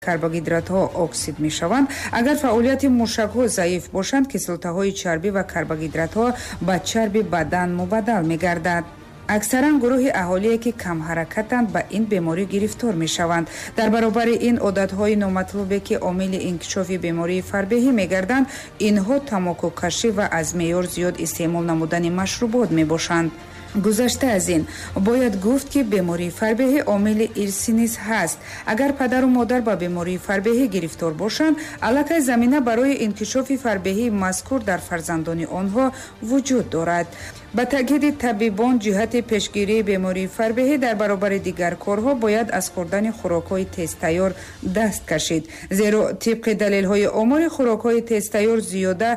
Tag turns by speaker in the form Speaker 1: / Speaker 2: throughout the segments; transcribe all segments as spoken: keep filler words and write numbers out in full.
Speaker 1: Карбогидратҳо оксид мешаванд. Агар фаъолияти мушакҳо заиф бошанд, кислотаҳои чарбӣ ва карбогидратҳо ба чарби бадан мубаддал мегардад. Аксаран гурӯҳи аҳолие, ки камҳаракатанд, ба ин беморӣ гирифтор мешаванд. Дар баробари ин, одатҳои номатлубе, ки омили инкишофи бемории фарбеҳӣ мегарданд, инҳо тамокукашӣ ва аз меъёр зиёд истеъмол намудани машрубот мебошанд. Гузашта аз ин, бояд гуфт, ки бемории фарбеҳӣ омили ирсӣ низ ҳаст. Агар падару модар ба бемории фарбеҳӣ гирифтор бошанд, аллакай замина барои инкишофи фарбеҳии мазкур дар фарзандони онҳо вуҷуд дорад. Ба таъкиди табибон, ҷиҳати пешгирии бемории фарбеҳӣ дар баробари дигар корҳо бояд аз хӯрдани хӯрокҳои тезтайёр даст кашид, зеро тибқи далелҳои омори, хӯрокҳои тезтайёр зиёда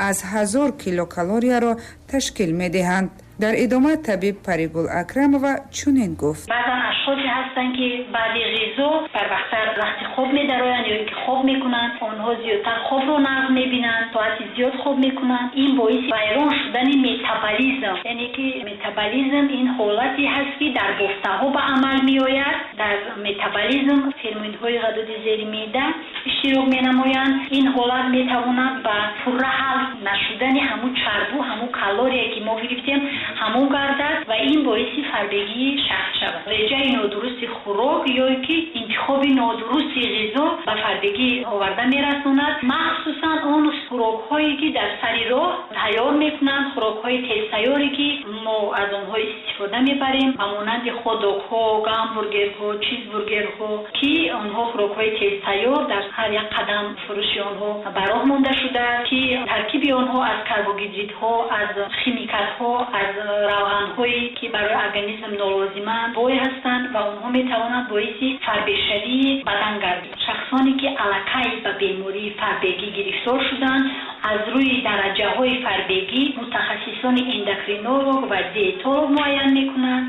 Speaker 1: аз ҳазор килокалорияро ташкил медиҳанд. Дар идома табиб Паригул Акрамова чунин гуфт:
Speaker 2: Баъзан ашхосе ҳастанд, ки баъди ғизо барвақттар вақти хоб медароянд ё ин ки хоб мекунанд. Онҳо зиёдтар хобро нағз мебинанд, соати зиёд хоб мекунанд. Ин боиси вайрон шудани метаболизм, яъне ки метаболизм ин ҳолате ҳаст, ки дар бофтаҳо ба амал меояд. Дар метаболизм ферментҳои ғадуди зери меъда иштирок менамоянд. Ин ҳолат метавонад ба пурра ҳал нашудани ҳамун чарбу, ҳамун калорие, ки мо гирифтем, ҳамон гардад ва ин боиси фарбегии шахс шавад. Реҷаи нодурусти хӯрок ё ки интихоби нодурусти ғизо ба фарбегӣ оварда мерасонад, махсусан он хӯрокҳое, ки дар сари роҳ тайёр мекунанд, хӯрокҳои тезтайёре, ки мо аз онҳо истифода мебарем, ба монанди хотдогҳо, гамбургерҳо, чизбургерҳо, ки онҳо хӯрокҳои тезтайёр дар ҳар як қадам фурӯши онҳо ба роҳ монда шудааст, ки таркиби онҳо аз карбогидридҳо, аз химикатҳо, аз равғанҳое, ки барои организм нолозиманд, бой ҳастанд ва онҳо метавонанд боиси фарбешавии бадан гарданд. Шахсоне, ки аллакай ба бемории фарбегӣ гирифтор шуданд, аз рӯи дараҷаҳои фарбегӣ мутахассисони эндокринолог ва диетолог муайян мекунанд.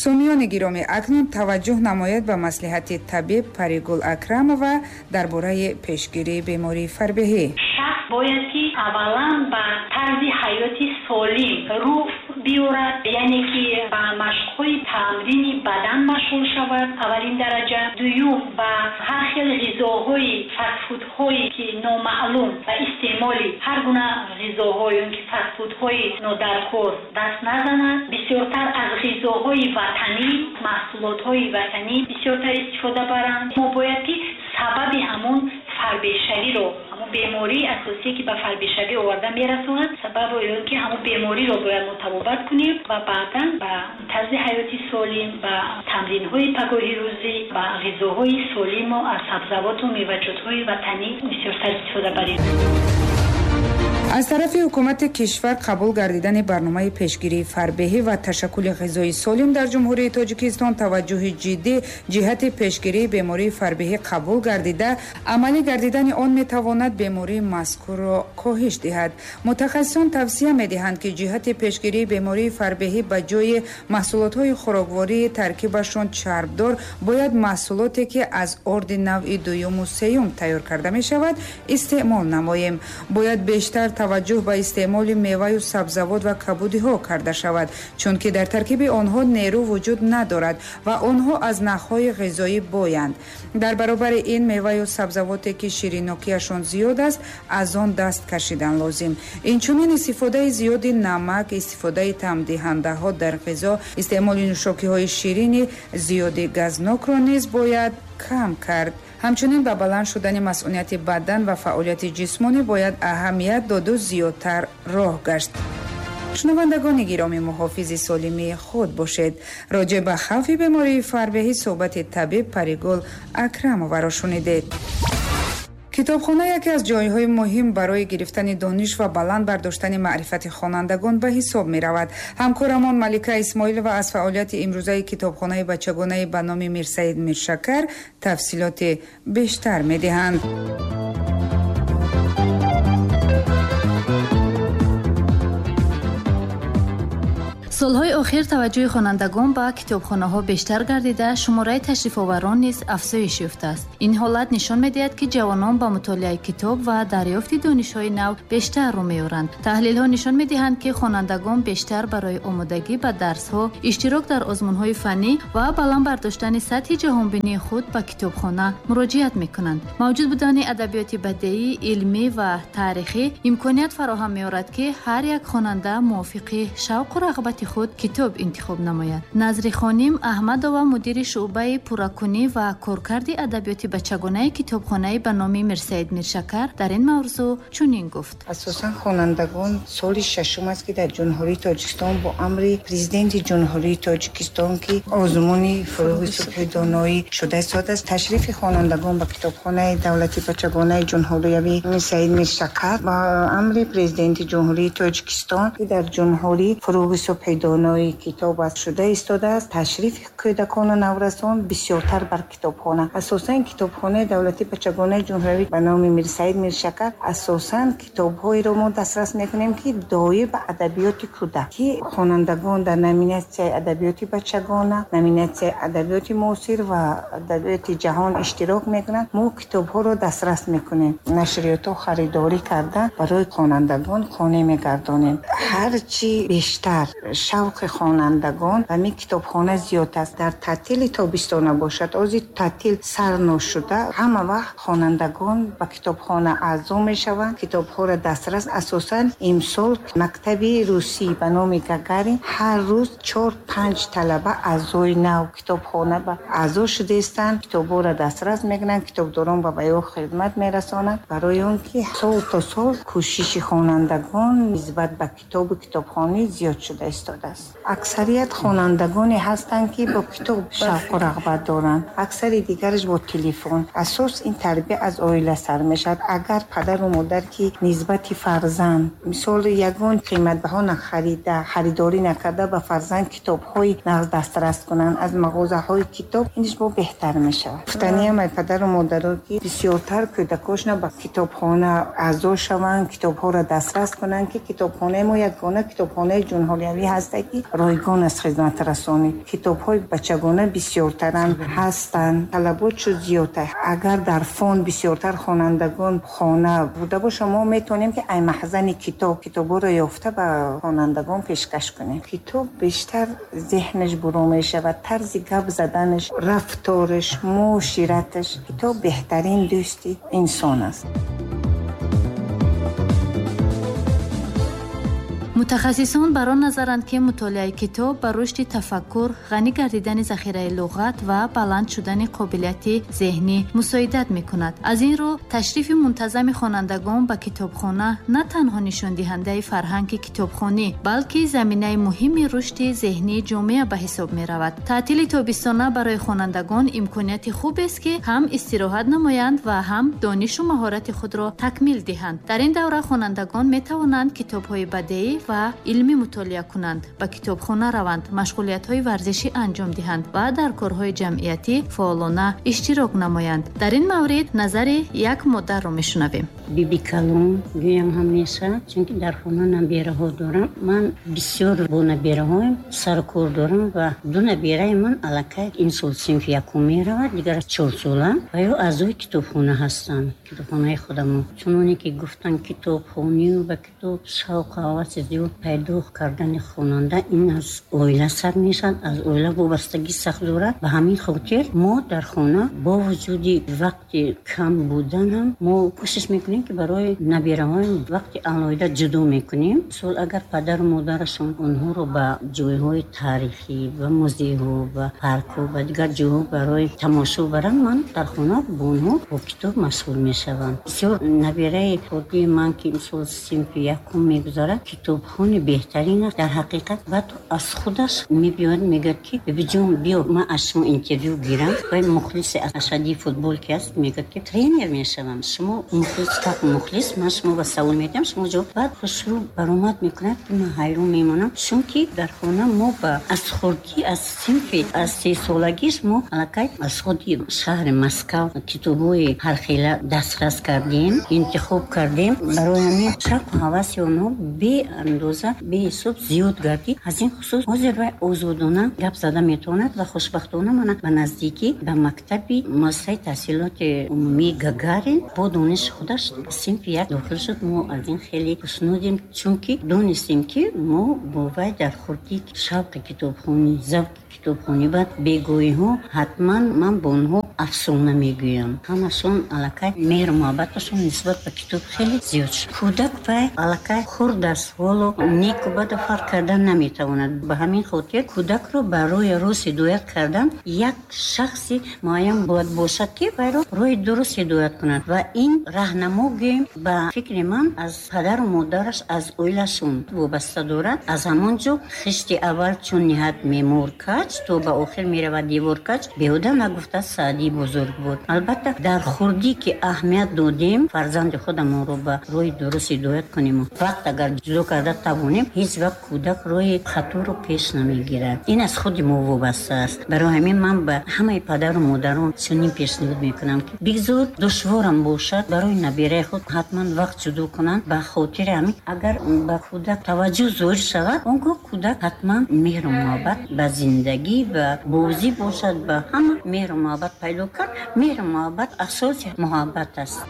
Speaker 1: Сомиёни гиромӣ, акнун таваҷҷӯҳ намояд ба маслиҳати табиб Паригул Акрамова дар бораи пешгирии бемории фарбеҳӣ.
Speaker 2: Шахс бояд ки аввалан ба тарзи ҳаёти солим рӯ биёрад, яъне ки ба машқҳои тамрини бадан машғул шавад, аввалин дараҷа. Дуюм, ба ҳар хел ғизоҳои фастфудҳое, ки номаълум, ба истеъмоли ҳар гуна ғизоҳо ё ки фастфудҳои нодаркор даст назанад. Бисёртар аз ғизоҳои ватанӣ, маҳсулотҳои ватанӣ бисёртар истифода баранд. Мо бояд ки сабаби ҳамон фарбешавиро, ҳамон бемории асосие, ки ба фарбешавӣ оварда мерасонад, сабаб ё ки ҳамон бемориро бояд мо табобат кунем ва баъдан ба тарзи ҳаёти солим, ба тамринҳои пагоҳи рӯзӣ, ба ғизоҳои солиму аз сабзавоту меваҷотҳои ватанӣ бисёртар истифода барем.
Speaker 1: Аз тарафи ҳукумати кишвар қабул гардидани барномаи пешгирии фарбеҳӣ ва ташаккули ғизои солим дар Ҷумҳурии Тоҷикистон таваҷҷӯҳи ҷиддӣ ҷиҳати пешгирии бемории фарбеҳӣ қабул гардида, амалӣ гардидани он метавонад бемории мазкурро коҳиш диҳад. Мутахассисон тавсия медиҳанд, ки ҷиҳати пешгирии бемории фарбеҳӣ ба ҷои маҳсулотҳои хӯроквории таркибашон чарбдор бояд маҳсулоте, ки аз орди навъи дуюму сеюм тайёр карда мешавад, истеъмол намоем. Бояд бештар таваҷҷӯҳ ба истеъмоли меваю сабзавот ва кабудиҳо карда шавад, чунки дар таркиби онҳо нерӯ вуҷуд надорад ва онҳо аз нахҳои ғизоӣ боянд. Дар баробари ин, меваю сабзавоте, ки ширинокиашон зиёд аст, аз он даст кашидан лозим. Инчунин истифодаи зиёди намак, истифодаи таъмдиҳандаҳо дар ғизо, истеъмоли нӯшокиҳои ширини зиёди газнокро низ бояд кам кард. Ҳамчунин ба баланд шудани масъунияти бадан ва фаъолияти ҷисмонӣ бояд аҳамият доду зиёдтар роҳ гашт. Шунавандагони гиромӣ, муҳофизи солимии худ бошед. Роҷеъ ба хавфи бемории фарбеҳӣ суҳбати табиб Паригул Акрамоваро шунидед. Китобхона яке аз ҷойҳои муҳим барои гирифтани дониш ва баланд бардоштани маърифати хонандагон ба ҳисоб меравад. Ҳамкорамон Малика Исмоилова аз фаъолияти имрӯзаи китобхонаи бачагонаи ба номи Мирсаид Миршакар тафсилоти бештар медиҳанд.
Speaker 3: Солҳои охир таваҷҷӯҳи хонандагон ба китобхонаҳо бештар гардида, шумораи ташрифоварон низ афзоиш ёфтааст. Ин ҳолат нишон медиҳад, ки ҷавонон ба мутолиаи китоб ва дарёфти донишҳои нав бештар рӯ меоранд. Таҳлилҳо нишон медиҳанд, ки хонандагон бештар барои омодагӣ ба дарсҳо, иштирок дар озмунҳои фаннӣ ва баланд бардоштани сатҳи ҷаҳонбинии худ ба китобхона муроҷиат мекунанд. Мавҷуд будани адабиёти бадеӣ, илмӣ ва таърихӣ имконият фароҳам меорад, ки ҳар як хонанда мувофиқи шавқу рағбати худ китоб интихоб намояд. Назри хоним Аҳмадова, мудири шӯъбаи пурракунӣ ва коркарди адабиёти бачагонаи китобхонаи ба номи Мирсаид Миршакар дар ин мавзӯъ чунин гуфт.
Speaker 4: Асосан хонандагон соли шашум аст, ки дар Ҷумҳурии Тоҷикистон бо амри Президенти Ҷумҳурии Тоҷикистон, ки озмуни фурӯғи субҳи доноӣ шуда истодааст, ташрифи хонандагон ба китобхонаи давлати бачагонаи ҷумҳуриявии Мирсаид Миршакар бо амри Президенти Ҷумҳурии Тоҷикистон, ки дар ҷумҳурӣ фурӯғи субҳи донои китоб аст шуда истодааст, ташрифи кӯдакону наврасон бисёртар бар китобхона. Асосан китобхонаи давлати бачагонаи ҷумҳуриявӣ ба номи Мирсаид Миршакар асосан китобҳоеро мо дастрас мекунем, ки доир ба адабиёти кӯдак, ки хонандагон дар номинатсияи адабиёти бачагона, номинатсияи адабиёти муосир ва адабиёти ҷаҳон иштирок мекунанд. Мо китобҳоро дастрас мекунем, нашриётҳо харидорӣ карда барои хонандагон қонеъ мегардонем. Ҳарчи бештар шавқи хонандагон ба ин китобхона зиёд аст. Дар таътили тобистона бошад, ози таътил сар ношуда, ҳама вақт хонандагон ба китобхона аъзо мешаванд, китобҳоро дастрас. Асосан имсол мактаби русӣ ба номи Гагарин ҳар рӯз чор-панҷ талаба аъзои нав китобхона ба аъзо шудаистанд, китобҳоро дастрас мекунанд, китобдорон ба ё хидмат мерасонанд. Барои он ки сол то сол кӯшиши хонандагон нисбат ба китобу китобхонӣ зиёд шуда истодааст. Аксарият хонандагоне ҳастанд, ки бо китоб шавқу рағбат доранд, аксари дигараш бо телефон. Асос ин тарбия аз оила сар мешавад. Агар падару модар ки нисбати фарзанд мисол ягон қиматбаҳо нахарида, харидорӣ накарда, ба фарзанд китобҳои нағз дастрас кунанд аз мағозаҳои китоб, инаш бо беҳтар мешавад. Гуфтаниам ай падару модаро, ки бисёртар кӯдакошона ба китобхона аъзо шаванд, китобҳоро дастрас кунанд, ки китобхонаи мо ягона китобхонаи ҷумҳуриявӣ ҳаст, ки ройгон аз хизматрасонӣ. Китобҳои бачагона бисёртаранд ҳастанд, талабот шуд зиёдтар. Агар дар фонд бисёртар хонандагон хона буда бошад, мо метавонем, ки ай маҳзани китоб китобҳоро ёфта ба хонандагон пешкаш кунем. Китоб бештар зеҳнаш буру мешавад, тарзи гап заданаш, рафтораш, муошираташ. Китоб беҳтарин дӯсти инсон аст.
Speaker 3: Мутахассисон бар он назаранд, ки мутолиаи китоб ба рушди тафаккур, ғанӣ гардидани захираи луғат ва баланд шудани қобилияти зеҳнӣ мусоидат мекунад. Аз ин рӯ ташрифи мунтазами хонандагон ба китобхона на танҳо нишондиҳандаи фарҳанги китобхонӣ, балки заминаи муҳими рушди зеҳнии ҷомеа ба ҳисоб меравад. Таътили тобистона барои хонандагон имконияти хубест, ки ҳам истироҳат намоянд ва ҳам донишу маҳорати худро такмил диҳанд. Дар ин давра хонандагон метавонанд китобҳои бадеӣ ва илмӣ мутолиа кунанд, ба китобхона раванд, машғулиятҳои варзишӣ анҷом диҳанд ва дар корҳои ҷамъиятӣ фаъолона иштирок намоянд. Дар ин маврид назари як модарро мешунавем.
Speaker 5: Биби калон гӯям ҳам мешавад, чунки дар хона набераҳо дорам. Ман бисёр бо набераҳоям сарукор дорам ва ду набераи ман аллакай ин сол синфи якум меравад, дигар чорсола ва ё аъзои китобхона ҳастанд, китобхонаи худамон. Чуноне ки гуфтанд, китобхонию ба китоб шавқу ҳаваси зиёд пайдо кардани хонанда ин аз оила сар мешавад, аз оила вобастагӣ сахт дорад. Ба ҳамин хотир мо дар хона бо вуҷуди вақти кам будан ҳам мо кӯшиш мекунем, ки барои набераҳоям вақти алоҳида ҷудо мекунем. Мисол, агар падару модарашон онҳоро ба ҷойҳои таърихӣ, ба музейҳо, ба паркҳо, ба дигар ҷойҳо барои тамошо баранд, ман дар хона бо онҳо бо китоб машғул мешавам. Бисёр набераи хурдии ман, ки мисол синфи якум мегузарад, китобхони беҳтарин аст. Дар ҳақиқат баъд аз худаш мебиёд, мегӯяд, ки бибиҷон, биё ман аз шумо интервю гирам. Вай мухлиси ашадии футбол ки аст, мегӯяд, ки тренер мешавам, шумо мухлис, как мухлис, ман шумо ба савол медиҳам, шумо ҷавоб. Баъд хушрӯ баромад мекунад, ки ман ҳайрон мемонам, чунки дар хона мо ба аз хурдӣ, аз синфи аз сесолагиш мо аллакай аз худи шаҳри Москав китобҳои ҳархела дастрас кардем, интихоб кардем. Барои ҳамин шавқу ҳаваси онҳо беандоза андоза беҳисоб зиёд гардид. Аз ин хусус ҳозир вай озодона гап зада метавонад ва хушбахтона мана ба наздикӣ ба мактаби муассисаи таҳсилоти умумии Гагарин бо дониши худаш синфи як дохил шуд. Мо аз ин хеле хушнудем, чунки донистем, ки мо бо вай дар хурдӣ шавқи китобхонӣ, завқи китобхонӣ баъд бегоҳиҳо ҳатман ман бо онҳо афсона мегӯям. Ҳамашон аллакай меҳру муҳаббаташон нисбат ба китоб хеле зиёд шуд. Кӯдак вай аллакай хурд аст, ҳоло неку бадро фарқ кардан наметавонад. Ба ҳамин хотир кӯдакро ба роҳи рост ҳидоят кардан як шахси муайян бояд бошад, ки вайро роҳи дуруст ҳидоят кунад. Ва ин раҳнамо гӯем, ба фикри ман, аз падару модараш, аз оилашон вобаста дорад. Аз ҳамон ҷо хишти аввал чун ниҳад мемор каҷ, то ба охир меравад девор каҷ, беҳуда нагуфта Саъдии бузург буд. Албатта, дар хурдӣ ки аҳамият додем, фарзанди худамонро ба роҳи дуруст ҳидоят кунем, вақт агар ҷудо карда тавонем, ҳеҷ вақт кӯдак роҳи хаторо пеш намегирад. Ин аз худи мо вобаста аст. Барои ҳамин ман ба ҳамаи падару модарон чунин пешниҳод мекунам, ки бигзор душворам бошад, барои набираи худ ҳатман вақт ҷудо кунанд. Ба хотири ҳамин агар ба кӯдак таваҷҷӯҳ зоҳир шавад, он гоҳ кӯдак ҳатман меҳру муҳаббат ба зиндагӣ, ба бозӣ бошад, ба ҳама меҳру муҳаббат пайдо кард. Меҳру муҳаббат асоси муҳаббат аст.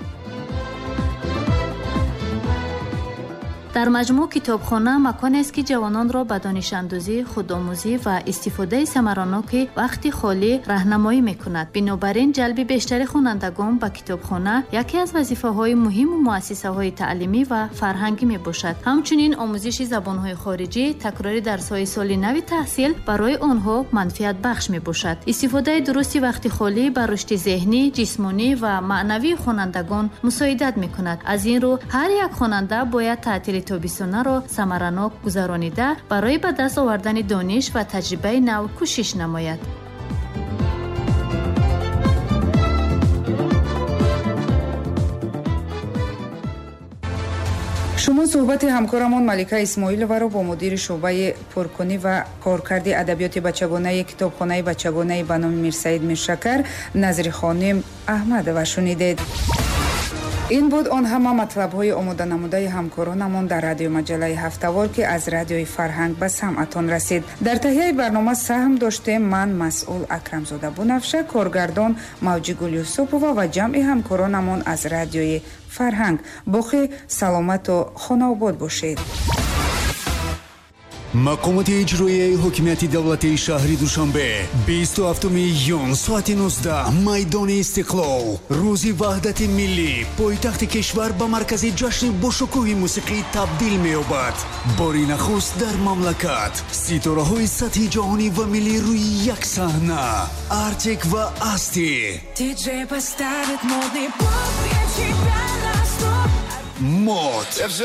Speaker 3: Дар маҷмӯъ китобхона маконест, ки ҷавононро ба донишандӯзӣ, худомӯзӣ ва истифодаи самараноки вақти холӣ раҳнамоӣ мекунад. Бинобар ин ҷалби бештари хонандагон ба китобхона яке аз вазифаҳои муҳиму муассисаҳои таълимӣ ва фарҳангӣ мебошад. Ҳамчунин омӯзиши забонҳои хориҷӣ, такрори дарсҳои соли нави таҳсил барои онҳо манфиатбахш мебошад. Истифодаи дурусти вақти холӣ ба рушди зеҳнӣ, ҷисмонӣ ва маънавии хонандагон мусоидат мекунад. Аз ин рӯ ҳар як хонанда бояд таътили тобистонаро самаранок гузаронида, барои ба даст овардани дониш ва таҷрибаи нав кӯшиш намояд.
Speaker 1: Шумо суҳбати ҳамкорамон Малика Исмоиловаро бо мудири шӯъбаи пуркунӣ ва коркарди адабиёти бачагонаи китобхонаи бачагонаи ба номи Мирсаид Миршакар Назрихоним Аҳмадова шунидед. Ин буд он ҳама матлабҳои омоданамудаи ҳамкоронамон дар радиомаҷаллаи ҳафтавор, ки аз радиои Фарҳанг ба самъатон расид. Дар таҳияи барнома саҳм доштем ман, масъул Акрамзода Бунафша, коргардон Мавҷигул Юсупова ва ҷамъи ҳамкоронамон аз радиои Фарҳанг. Боқӣ саломату хонаобод бошед.
Speaker 6: Мақомоти иҷроияи ҳокимияти давлатии шаҳри Душанбе бисту ҳафтуми июн соати нуздаҳ майдони Истиқлол, рӯзи ваҳдати миллӣ, пойтахти кишвар ба маркази ҷашни бошукӯҳи мусиқӣ табдил меёбад. Бори нахуст дар мамлакат ситораҳои сатҳи ҷаҳонӣ ва миллӣ рӯи як саҳна. Артик ва Асти,
Speaker 7: Диджей поставит модный поп, я тебя на стоп.
Speaker 6: Мод,